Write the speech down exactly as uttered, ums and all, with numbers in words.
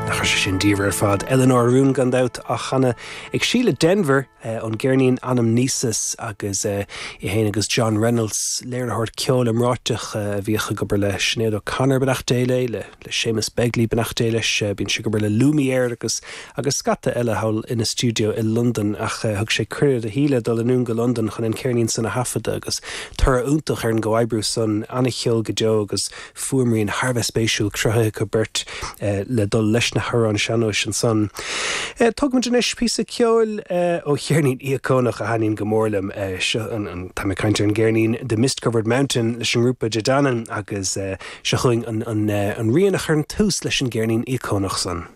Nach raibh sé sin diamhair ar fad Eleanor Rún gan dabht á chanadh ag Síle Denvir ón gceirnín Anamnesis agus í féin agus John Reynolds léiritheoir ceoil iomráiteach a bhíodh ag obair le Sinéad O'Connor beannacht Dé léi le le Séamus Begley beannacht Dé leis bíonn sé ag obair le Lumière agus agus scata eile thall ina stiúideo i Londain ach thug sé cuireadh do Shíle dul anonn go Londain chun an ceirnín san a thaifeadadh agus toradh iontach ar an gcomhoibriú san an-cheol go deo agus fuaimrian thar a bheith spéisiúil cruthaithe acu beirt le dul leis na hamhráin sean-nóis ansan. Tugaimid anois píosa ceoil ó cheirnín íocónach a thaitníonn go mór liom seo tá mé ag caint ar an gceirnín The Mist Covered Mountain leis an ngrúpa De Danann agus seo chugainn an, an, an rian a chuireann tús leis an gceirnín íocónach san.